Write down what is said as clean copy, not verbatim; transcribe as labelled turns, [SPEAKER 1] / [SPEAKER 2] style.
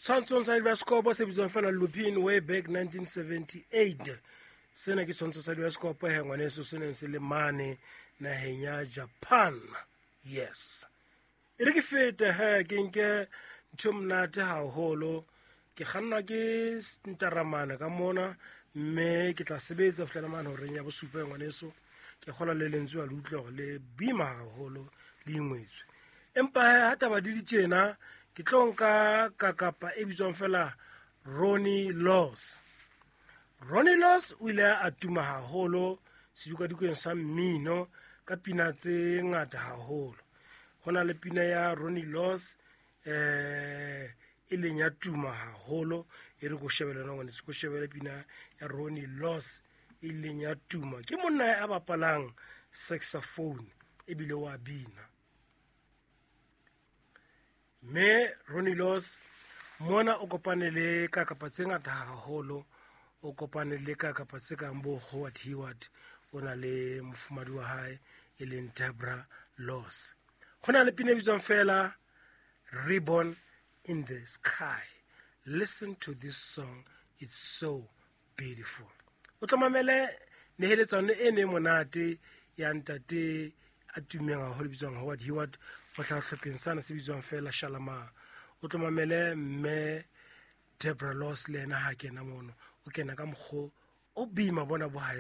[SPEAKER 1] Tshwantshong sa dibasekopo se bitswang fela Lupin way back 1978. Sena ke tshwantsho sa dibasekopo he ngwaneso, se neng se le mane naheng ya Japan. Yes, e re ke fete he, ke nke ntho e monate haholo. Ke kgannwa ke ntaramane ka mona, mme ke tla sebetsa fihlela mane horeng ya bosupa. Ngwaneso, ke kgola le lentswe a le utlwa gore le bima haholo, le ingwetswe. Empa he, ha taba di di tjena, ke tlo nka kakapa e bitswang fela Ronnie Laws. Ronnie Laws o ile a tuma haholo sedikwadikong sa mmino ka pina tse ngata haholo. Ho na le pina ya Ronnie Laws e leng ya tuma haholo. E re ko shebele yona, ngwaneso, ko shebele pina ya Ronnie Laws e leng ya tuma. Ke monna ya bapalang saxophone ebile wa bina. Mme Ronnie Laws mona o kopane le kakapa tse ngata haholo. O kopane le kakapa tse kang bo Howard Heward, o na le mofumadi wa hae e leng Debra Laws. Ho na le pina e bitswang fela Ribbon in the Sky. Listen to this song, it's so beautiful. O tlo mamele neheletsano e ne monate ya ntate a tummeng haholo bitswang Howard Heward, o hlaha hlopheng sana se bitswang fela Shalamar. O tlo mamele mme Debra Laws le ena ha kena mono, o kena ka mokgo o bima bona bo hae.